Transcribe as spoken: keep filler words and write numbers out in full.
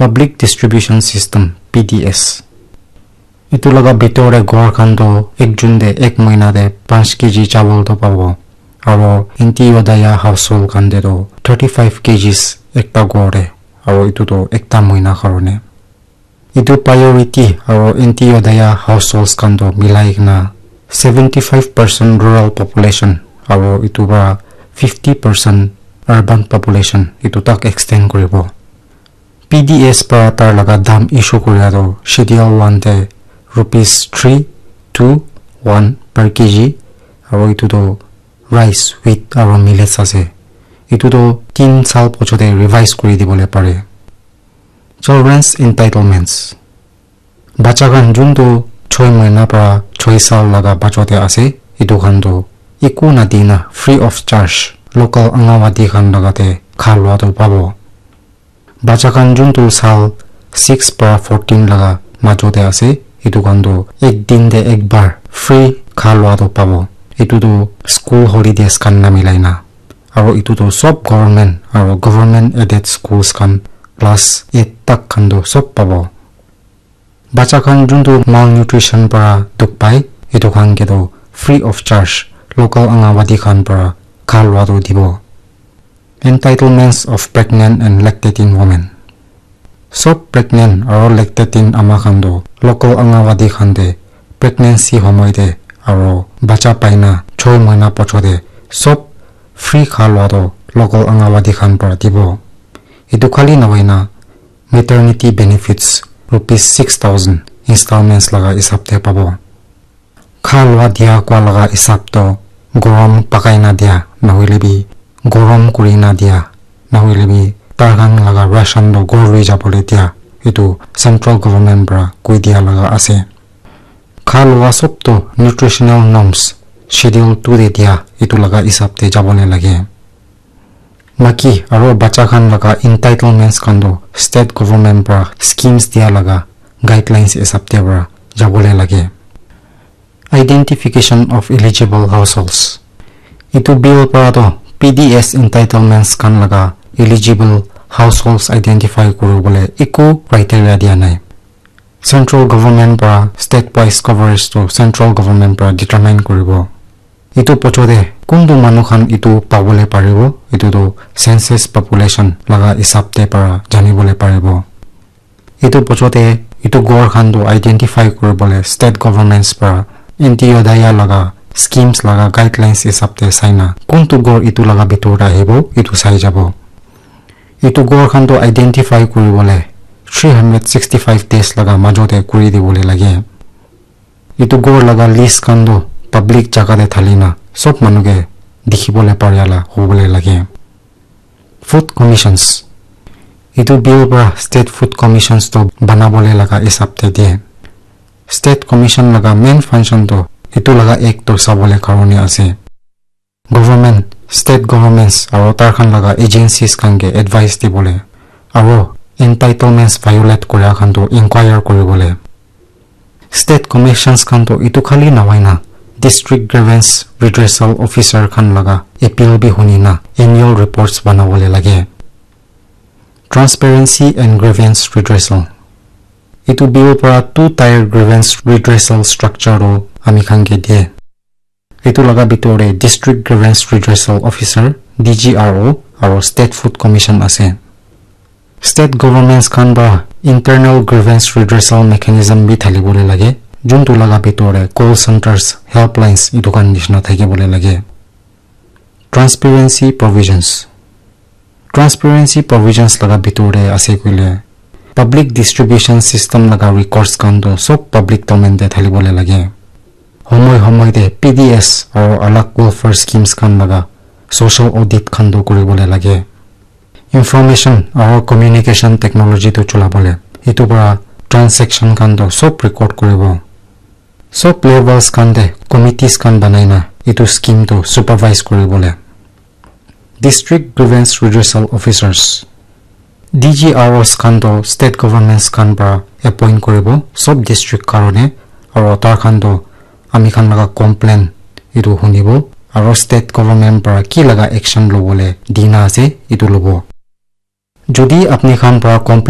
Public Distribution System, P D S. Etu laga bitor te ghor khan toh ekjun te ek mahina te panch K G chawal toh pabo. Aro Antyodaya household khan te toh thirty five K Gs ekta ghor te. Aro etu toh ekta mahina karone. Etu priority aro Antyodaya households khan toh milai kena seventy five percent rural population aro etu para fifty percent urban population etu tak extend kuribo. P D S para tar laga dam issue kuria toh Schedule one te rupees three two one per K G aro etu toh rice, wheat aro millets ase. Etu toh tin sal pochote revise kuri dibole pare. Children's entitlements. Bacha khan juntu choi mahina para choi sal laga bachote ase, etu khan toh eku nadina free of charge local Anganwadi khan laga te kha lua toh pabo. Bacha khan juntu sal six para fourteen laga majote ase, etu khan toh ek din te ek bar free kha lua toh pabo. Etu toh school holidays khan na milai na. Aro etu toh sob government aro government aided schools khan class eight tak khan toh sob pabo. Bacha khan juntu malnutrition para dukh pai, etu khan ke toh free of charge local Anganwadi khan para kha lua toh dibo. Entitlements of pregnant and lactating women. Sob pregnant aro lactating ama khan toh local Anganwadi khan te pregnancy homoi te aro bacha paina choi mahina pochote sob free kha lua toh local Anganwadi khan para dibo. Etu khali nahoina maternity benefits rupees six thousand installments laga hisab te pabo. Kha lua dia kua laga hisab toh gorom pakai na dia, nahoile bi gorom kuri na dia, nahoile bi tar khan laga ration toh ghor lui jabole dia, etu central government para koi dia laga ase. Kha lua sob toh nutritional norms Schedule two te dia, etu laga hisab te jabole lage. Maki aro bacha khan laga entitlements khan toh state government para schemes dia laga guidelines hisab te para jabole lage. Identification of eligible households. Etu bill para toh P D S entitlements khan laga eligible households identify kuribole eku criteria dia nai. Central government para state wise coverage toh central government para determine kuribo. Etu pochote kuntu manu khan etu pabole paribo, etu toh census population laga hisab te para janibole paribo. Etu pochote etu ghor khan toh identify kuribole state governments para Antyodaya laga schemes laga guidelines hisab te sai na kuntu ghor etu laga bitor te ahibo, etu sai jabo. Etu ghor khan toh identify kuribole three hundred sixty five days laga majote kuri dibole lage. Etu ghor laga list khan toh public jaga te thali na sob manu ke dikhibole paria la hobole lage. Food commissions. Etu bill para state food commissions toh banabole laga hisab te de. State commission laga main function toh etu laga act toh sabole karone ase. Government, state governments aro tar khan laga agencies khan ke advice dibole aro entitlements violate kuria khan toh inquire kuribole. State commissions khan toh etu khali nahoina district grievance redressal officer khan laga appeal bi huni na annual reports banabole lage. Transparency and grievance redressal. Etu bill para two tier grievance redressal structure toh ami khan ke de. Etu laga bitor te District Grievance Redressal Officer, D G R O, aro State Food Commission ase. State governments khan para internal grievance redressal mechanism bi thalibole lage, juntu laga bitor te call centers, helplines etu khan nishina thakibole lage. Transparency provisions. Transparency provisions laga bitor te ase koile, public distribution system laga records khan toh sob public domain te thalibole lage. Homoi homoi te P D S aro alag welfare schemes khan laga social audit khan toh kuribole lage. Information aro communication technology toh cholabole, etu para transaction khan toh sob record kuribo. Sob levels khan te committees khan banai na etu scheme toh supervise kuribole. District Grievance Redressal Officers, D G R Os khan toh state governments khan para appoint kuribo sob district karone, aro tar khan toh ami khan laga complaint etu hunibo aro state government para ki laga action lobole dina ase etu lobo. Jodi apni khan para complaint